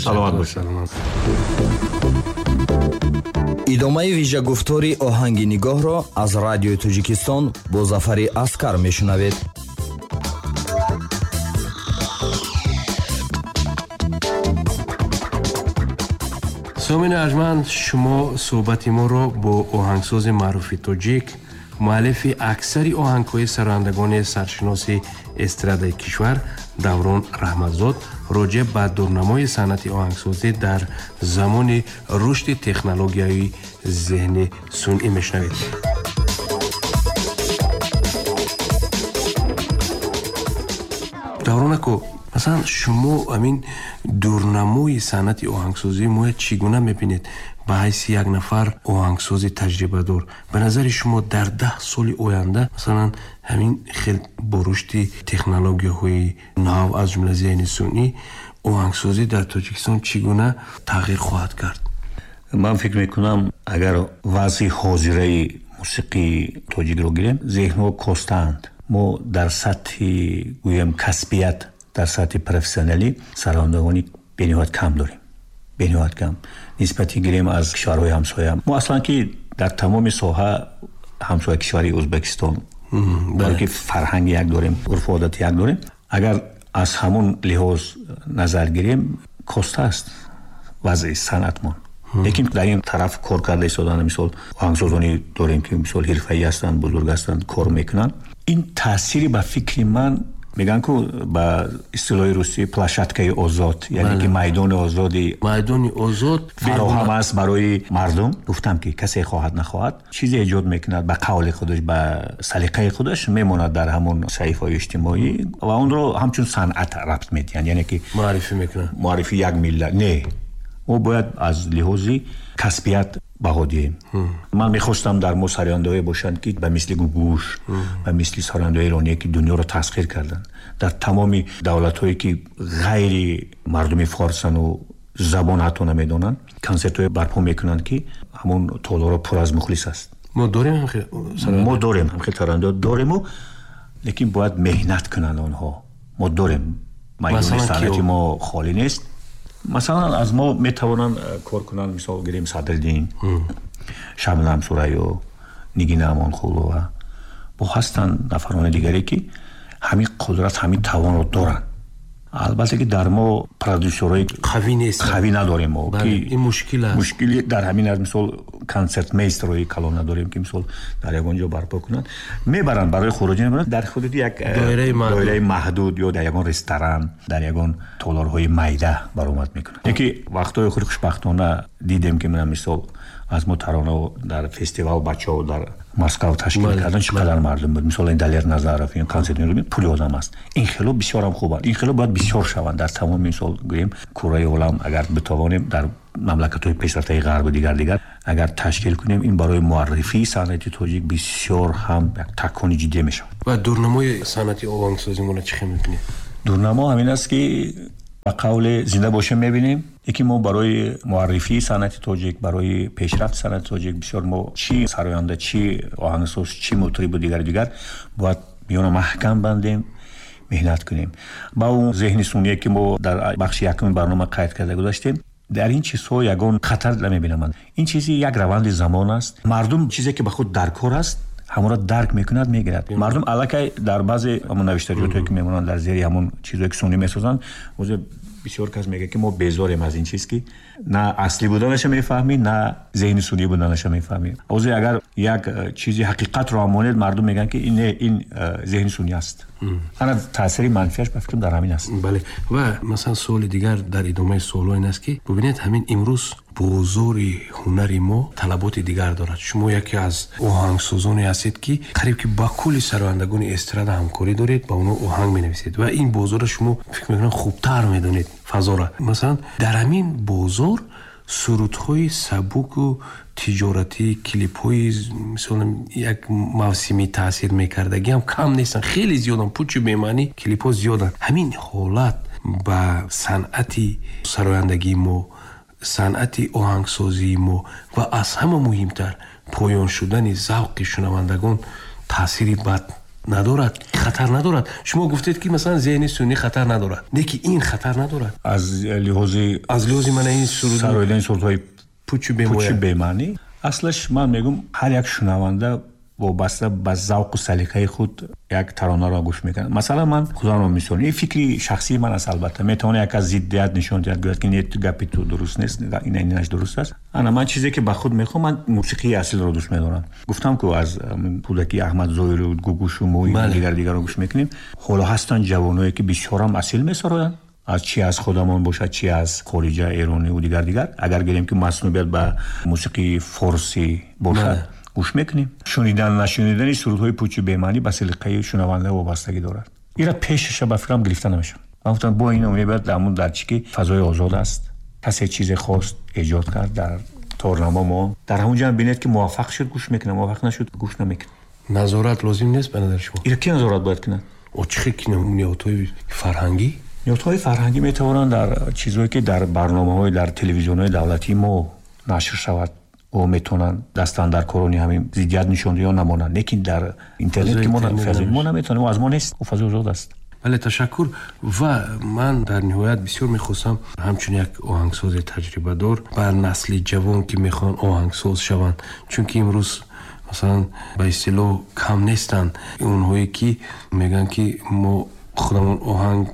Саломат бошед. Идомаи вижагуфтори оҳанги нигоҳро аз радиои Тоҷикистон бо Зафари Аскар мешунавед. Сомини арҷманд, шумо суҳбати моро бо оҳангсози маъруфи тоҷик, муаллифи аксари оҳангҳои сарояндагони саршиноси эстрадаи кишвар Даврон Раҳматзод роҷеъ ба дурнамои санъати оҳангсозӣ дар замони рушди технологияи зеҳни сунъӣ мешунавед. Даврон ако, масалан, шумо ҳамин дурнамои санъати оҳангсозии моя чӣ гуна мебинед? Ба ҳайси як нафар оҳангсози таҷрибадор, ба назари шумо дар 10 соли оянда, масалан, ҳамин хел бо рушди технологияҳои нав, аз ҷумла зеҳни сунъӣ, оҳангсозӣ дар Тоҷикистон чӣ гуна тағйир хоҳад кард? Ман фикр мекунам, агар вазъи ҳозираи мусиқии тоҷикро гирем, зеҳнҳо костаанд. Мо дар сатҳи, гӯем, касбият, дар сатҳи профессионалӣ сарояндагони бениҳоят кам дорем. Бениҳоят кам. Нисбати гирем аз кишварҳои ҳамсоя. Мо аслан ки дар тамоми соҳа ҳамсоя кишвари Ӯзбекистон, барои ки фарҳанги як дорем, урфу одати як дорем. Агар аз ҳамон лиҳоз назар гирем, коста аст вазъи санъатмон. Лекин дар ин тараф кор карда истодан, мисол оҳангсозоне дорем ки мисол ҳирфаӣ ҳастанд, бузург ҳастанд, кор мекунанд. Ин таъсири ба фикри ман, мегӯянд ку ба истилоҳи русӣ площадкаи озод, яъне ки майдони озоди, майдони озод фароҳам аст барои мардум. Гуфтам ки касе хоҳад нахоҳад чизе эҷод мекунад ба қавли худаш, ба салиқаи худаш, мемонад дар ҳамон саҳифаҳои иҷтимоӣ ва онро ҳамчун санъат рабт медиҳанд, яъне ки муаррифӣ мекунанд, муаррифи як миллат. Не, мо бояд аз лиҳози касбият баҳо диҳем. Ман мехостам дар мо сарояндаҳое бошанд ки ба мисли Гугуш, ба мисли сарояндаҳои эроние ки дунёро тасхир карданд, дар тамоми давлатҳое ки ғайри мардуми форсану забон ҳатто намедонанд, консертҳое барпо мекунанд ки ҳамон толорҳо пур аз мухлис аст. Мо дорем ҳамхел сароянда? Мо дорем ҳамхел сарояндаҳо дорему, лекин бояд меҳнат кунанд онҳо. Мо дорем, майдони санъати мо холӣ нест. Масалан, аз мо метавонанд кор кунанд, мисол гирем Садриддин, Шабнам Сурайё, Нигина Амонқулова. Бо ҳастанд нафарони дигаре ки ҳамин қудрат, ҳамин тавонро доранд. Албатта ки дар мо продюсерҳои қавӣ нест, қавӣ надорем мо, ки ин мушкил аст. Мушкили дар ҳамин аст, мисол консертмейстерҳои калон надорем ки мисол дар ягон ҷо барпо кунанд. Мебаранд барои хуруҷӣ, мебаранд дар ҳудуди як доираи маҳдуд ё дар ягон ресторан, дар ягон толорҳои майда баромад мекунанд. Яке вақтҳои охир хушбахтона дидем ки мана мисол аз мо таронаҳо дар фестивал бачаҳо дар Москва ташкил кардан, чӣ қадар мардум буд. Мисол ин Далер Назаров, ин консерт меорад, пули одам аст. Ин хело бисёр ҳам хубанд. Ин хело бояд бисёр шаванд дар тамоми мисол гӯем кураи олам, агар битавонем дар мамлакатҳои пешрафтаи ғарбу дигар дигар агар ташкил кунем, ин барои муаррифии санъати тоҷик бисёр ҳам як такони ҷиддӣ мешавад. Ва дурнамои санъати оҳангсозии моро чӣ хел мебинед? Дурнамо ҳамин аст ки ба қавле зинда бошем мебинем, яке мо барои муаррифии санъати тоҷик, барои пешрафти санъати тоҷик бисёр мо чӣ сароянда, чӣ оҳангсоз, чӣ мутрибу дигар дигар бояд миёна маҳкам бандем, меҳнат кунем. Ба он зеҳни сунъие ки мо дар бахши якуми барнома қайд карда гузаштем, дар ин чизҳо ягон хатар намебинам. Ин чизи як раванди замон аст. Мардум чизе ки ба худ даркор аст, ҳамонро дарк мекунад, мегирад. Мардум аллакай дар баъзе ҳамон навиштаҷотҳое ки мемонанд дар зери ҳамон чизҳое ки сунъӣ месозанд, ҳозир бисёр кас мегӯяд ки мо безорем аз ин чиз, ки на аслӣ буданаша мефаҳмӣ, на зеҳни сунъӣ буданаша мефаҳмӣ. Ҳозир агар як чизи ҳақиқатро ҳам монед, мардум мегӯянд ки ин не, ин зеҳни сунъӣ аст. Ана таъсири манфиаш ба фикрам дар ҳамин аст. Бале. Ва масалан суоли дигар дар идомаи суолҳо ин аст ки бубинед, ҳамин имрӯз бозори ҳунари мо талаботи дигар дорад. Шумо яке аз оҳангсозоне ҳастед ки қариб ки ба кулли сарояндагони эстрада ҳамкорӣ доред, ба онҳо оҳанг менависед ва ин бозорро шумо фикр мекунам хубтар медонед фазора. Масалан, дар ҳамин бозор сурудҳои сабуку тиҷоратӣ, клипҳои мисол як мавсимӣ таъсир мекардагӣ ҳам кам нестанд, хеле зиёданд, пучу бемаънӣ клипҳо зиёданд. Ҳамин ҳолат ба санъати сарояндагии мо, санъати оҳангсозии мо ва аз ҳама муҳимтар поён шудани завқи шунавандагон таъсири бад Надорад, хатар надорад. Шумо гуфтед, ки масалан зеҳни сунъӣ хатар надорад, лекин ин хатар надорад. Аз лиҳози Аз лиҳози мана ин суруд сароидани сурудҳои пучу пучи бемоя. Бемаънӣ, аслаш ман мегӯм, ҳар як шунаванда вобаста ба завқу салиқаи худ як таронаро гӯш мекунад. Масалан, ман худамро мисол, ин фикри шахсии ман аст, албатта метавона як аз зиддият нишон диҳад, гӯяд, ки не, гапи ту дуруст нест, инаш дуруст аст. Ана ман чизе ки ба худ мехоҳам, ман мусиқии асилро дӯст медорам. Гуфтам, ку аз кӯдакӣ Аҳмад Зоиру, Гугушу, Мои, дигар дигарро гӯш мекунем. Ҳоло ҳастанд ҷавоное, ки бисёрам асил месароянд, аз чи аз худамон бошад, чи аз хориҷа, эрониву дигар дигар. Агар гирем, ки маснубият ба мусиқии форсӣ бошад, гӯш мекунем. Шунидан нашунидани сурудҳои пучу бемаънӣ ба салиқаи шунаванда вобастагӣ дорад. Ира пешаша ба фикрам гирифта намешавад. Ман гуфтам, бо ино мебояд ҳамун дар чи ки фазои озод аст, касе чизе хост, эҷод кард, дар торнамо мо дар ҳамун ҷо бинед, ки муваффақ шуд, гӯш мекунад, муваффақ нашуд, гӯш намекунад. Назорат лозим нест ба назари шумо? Ира ки назорат бояд кунад? О, чӣ хел ниҳодҳои фарҳангӣ? Ниҳодҳои фарҳангӣ метавонанд дар чизҳое, ки дар барномаҳои дар телевизионҳои давлатии мо нашр шавад, о метавонанд дастандаркорони ҳамин зиддият нишон ё намонанд, лекин дар интернет ки мо наметавонем, аз мо нест, ӯ фазои озод аст. Бале, ташаккур. Ва ман дар ниҳоят бисёр мехостам, ҳамчун як оҳангсози таҷрибадор, ба насли ҷавон, ки мехоҳанд оҳангсоз шаванд, чунки имрӯз масалан ба истилоҳ кам нестанд онҳое, ки мегӯянд, ки мо худамон оҳанг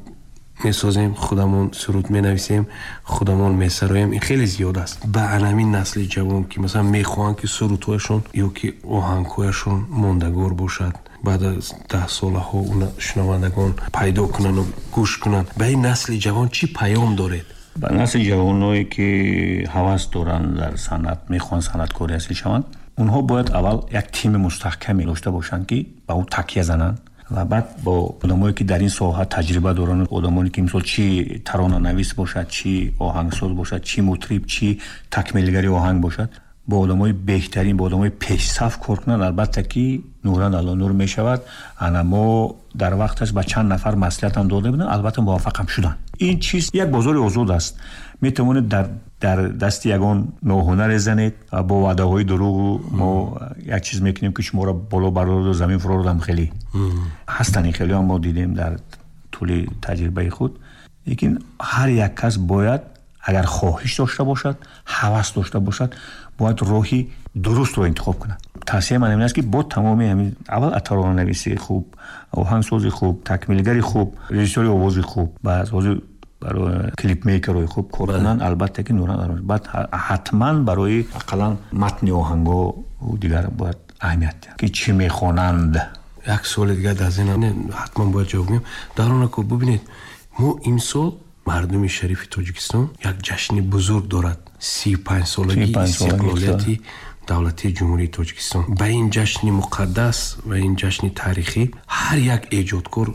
месозем, худамон суруд менависем, худамон месароем. Ин хеле зиёд аст. Ба анамин насли ҷавон, ки масалан мехоҳанд, ки сурудҳояшон ё ки оҳангҳояшон мондагор бошад, баъд аз 10 солаҳо шунавандагон пайдо кунанду гӯш кунанд, ба ин насли ҷавон чӣ паём доред? Ба насли ҷавоное, ки ҳавас доранд дар санъат, мехоҳанд санъаткори асил шаванд, онҳо бояд аввал як тими мустаҳкаме дошта бошанд, ки ба ӯ такя зананд, ва баъд бо одамое, ки дар ин соҳа таҷриба доранд, одамоне, ки мисол чӣ таронанавис бошад, чӣ оҳангсоз бошад, чӣ мутриб, чӣ такмилгари оҳанг бошад, бо одамои беҳтарин, бо одамои пешсаф кор кунанд, албатта ки нуран ало нур мешавад. Ана мо дар вақташ ба чанд нафар маслиҳатам дода будем, албатта муваффақам шуданд. Ин чиз як бозори озод аст, метавонед дар дасти ягон ноҳунаре занед бо ваъдаҳои дурӯғу мо як чиз мекунем, ки шуморо боло барорду замин фурордам. Хеле ҳастанд ин хелеам мо дидем дар тӯли таҷрибаи худ. Лекин ҳар як кас бояд, агар хоҳиш дошта бошад, ҳавас дошта бошад, бояд роҳи дурустро интихоб кунад. Тавсияи ман ин аст, ки бо тамоми ҳамин аввал таронанависи хуб, оҳангсози хуб, такмилгари хуб, режиссёри овози хуб, баъд ҳозир барои клипмейкерҳои хуб кор кунанд, албатта ки нуран. Баъд ҳатман барои ақаллан матни оҳангҳо дигар бояд аҳамият диҳанд, ки чӣ мехонанд. Як суоли дигар дар зеҳнам, ҳатман бояд ҷавоб гӯем. Даронако, бубинед, мо имсол мардуми шарифи Тоҷикистон як ҷашни бузург дорад, 35-солагии истиқлолияти давлатии Ҷумҳурии Тоҷикистон. Ба ин ҷашни муқаддас ва ин ҷашни таърихӣ ҳар як эҷодкор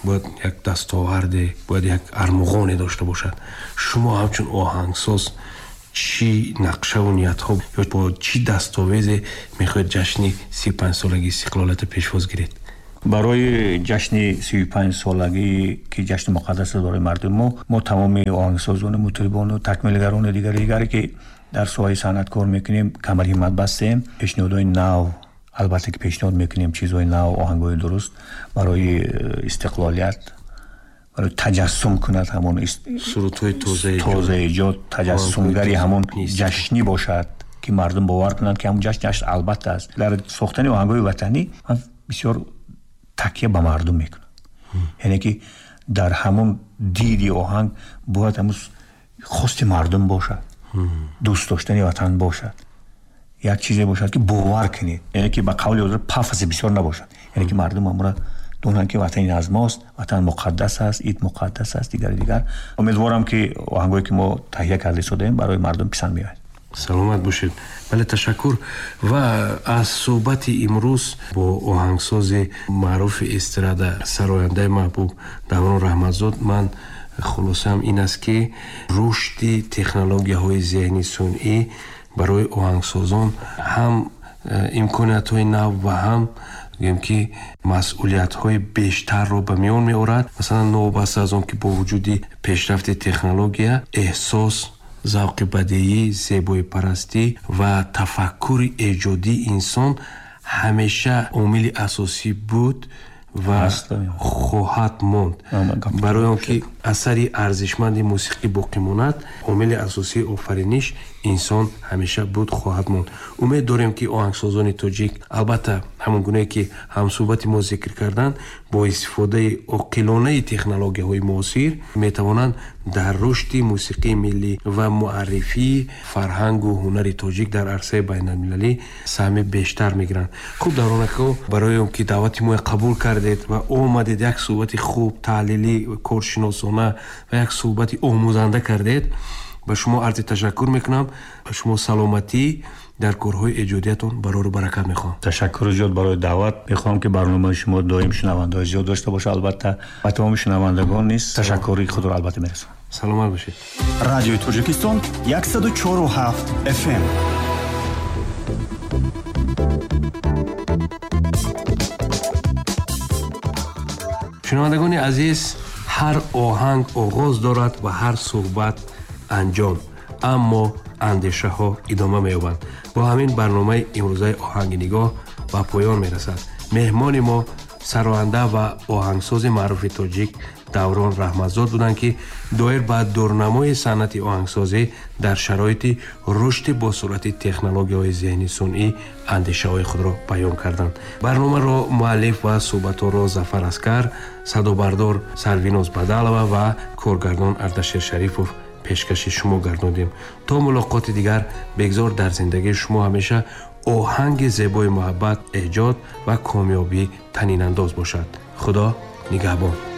бояд як дастоварде, бояд як армуғоне дошта бошад. Шумо ҳамчун оҳангсоз чӣ нақшаву ниятҳо ё бо чӣ дастовезе мехоҳед ҷашни 35-солагии истиқлолиятро пешвоз гиред? Барои ҷашни 35-солагӣ, ки ҷашни муқаддас аст барои мардуми мо, мо тамоми оҳангсозону мутрибону такмилгарону дигари дигаре, ки дар соҳаи санъат кор мекунем, камари ҳиммат бастем. Пешниҳодҳои нав албатта ки пешниҳод мекунем, чизҳои нав, оҳангҳои дуруст барои истиқлолият, барои таҷассум кунад ҳамон сурудҳои тозаэҷод, таҷассумгари ҳамон ҷашнӣ бошад, ки мардум бовар кунанд, ки ҳамон ҷашн ҷашн албатта аст. Дар сохтани оҳангҳои ватанӣ ман бисёр такя ба мардум мекунам, яъне ки дар ҳамон диди оҳанг бояд ҳамун хости мардум бошад, дӯст доштани ватан бошад, як чизе бошад, ки бовар кунед, яъне ки ба қавли ҳозир пафоси бисёр набошад, яъне ки мардум ҳамура донанд, ки ватан аз мост, ватан муқаддас аст, ид муқаддас аст, дигари дигар. Умедворам, ки оҳангое, ки мо таҳия карда истодаем, барои мардум писанд меояд. Саломат бошед. Бале, ташаккур. Ва аз суҳбати имрӯз бо оҳангсози маъруфи эстрада, сарояндаи маҳбуб Даврон Раҳматзод ман хулосаам ин аст, ки рушди технологияҳои зеҳни сунъӣ барои оҳангсозон ҳам имкониятҳои нав ва ҳам гӯем ки масъулиятҳои бештарро ба миён меорад. Масалан, новобаста аз он ки бо вуҷуди пешрафти технология эҳсос, завқи бадеӣ, зебоипарастӣ ва тафаккури эҷодии инсон ҳамеша омили асосӣ буд. ва хоҳад монд. Барои он ки асари арзишманди мусиқӣ боқӣ монад, омили асосии офариниш инсон ҳамеша буд, хоҳад монд. Умед дорем, ки оҳангсозони тоҷик, албатта, ҳамон гунае ки ҳамсӯҳбати мо зикр карданд, бо истифодаи оқилонаи технологияҳои муосир метавонанд дар рушди мусиқии миллӣ ва муаррифии фарҳангу ҳунари тоҷик дар арсаи байналмилалӣ саҳми бештар мегиранд. Хуб, Даврон ако, барои он ки даъвати моя қабул кардед ва омадед, як суҳбати хуб, таҳлилӣ, коршиносона ва як суҳбати омӯзанда кардед, ба шумо арзи ташаккур мекунам. Ба шумо саломатӣ, дар корҳои эҷодиятон барору баракат мехоҳам. Ташаккури зиёд барои даъват. Мехоҳам, ки барномаи шумо доим шунавандаҳои зиёд дошта бошад. Албатта, ба тамоми шунавандагон низ ташаккури худро албатта мерасонам. Саломат бошед. Радиои Тоҷикистон, 104,7 FM. Шунавандагони азиз, ҳар оҳанг оғоз дорад ва ҳар суҳбат анҷом, аммо андешаҳо идома меёбанд. Бо ҳамин барномаи имрӯзаи «Оҳанги нигоҳ» ба поён мерасад. Меҳмони мо сароянда ва оҳангсози маъруфи тоҷик Даврон Раҳматзод буданд, ки доир ба дурнамои санъати оҳангсозӣ дар шароити рушди босуръати технологияҳои зеҳни сунъӣ андешаҳои худро баён карданд. Барномаро муаллиф ва суҳбатҳоро Зафар Аскар, садобардор Сарвиноз Бадалова ва коргардон Ардашер Шарипов пешкаши шумо гардондем. То мулоқоти дигар, бегзор дар зиндагии шумо ҳамеша оҳанги зебои муҳаббат, эҷод ва комёбӣ танинандоз бошад. Худо нигаҳбон.